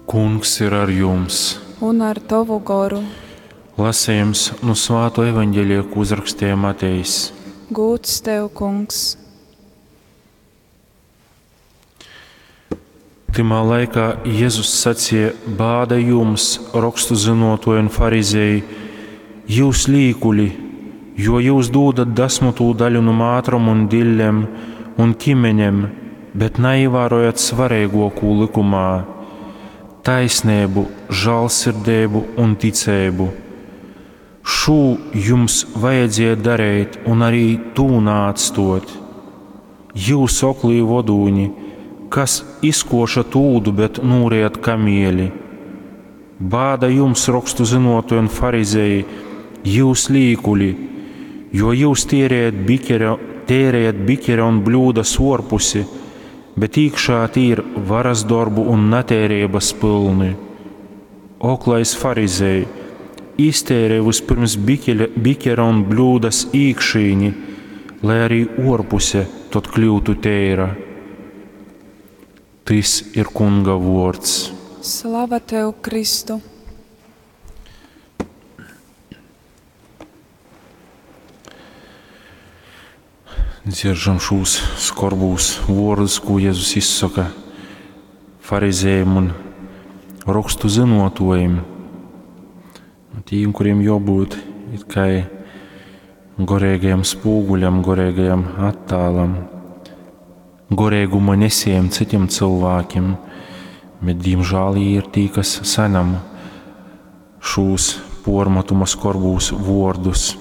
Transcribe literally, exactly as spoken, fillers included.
Kungs ir ar jums! Un ar tovu goru. Lasījums no Svāto evaņģēlija, ko uzrakstīja Matejs. Gūds tev, Kungs! Tymā laikā Jēzus sacīja: Bāda jums, rokstu zinotoji un farizēji, jūs līkuļi, jo jūs dūdat dasmutū daļu no mātrom un dillem un ķimeņem, bet neievērojat svarīgāko likumā - taisnību, žēlsirdību un ticību. Šo jums vajadzēja darīt, un arī tū nāatstot. Jūs, oklī vodūņi, kas izkoša tūdu, bet nūriet kamieli. Bāda jums, rokstu zinotoji un farizēji, jūs līkuļi, jo jūs tērējat bikera, tērējat bikera un bļūdas orpusi, bet iekšā tī ir varas darbu un netērības pilni. Oklais farizēji, iztērē vispirms bikeļa, bikera un bļūdas īkšīni, lai arī orpuse tad kļūtu tēra. Tys ir Kunga vārds. Slava tev, Kristu! Dzieržam šos skorbūs vārdus, ko Jēzus izsaka farizējiem un rakstu zinotojiem. Tiem, kuriem jābūt it kā gorīgajam spūguļam, gorīgajam attēlam, gorīguma nesējiem citiem cilvēkiem, bet diemžēl viņi ir tie, kas saņem šos pormatuma skorbūs vārdus.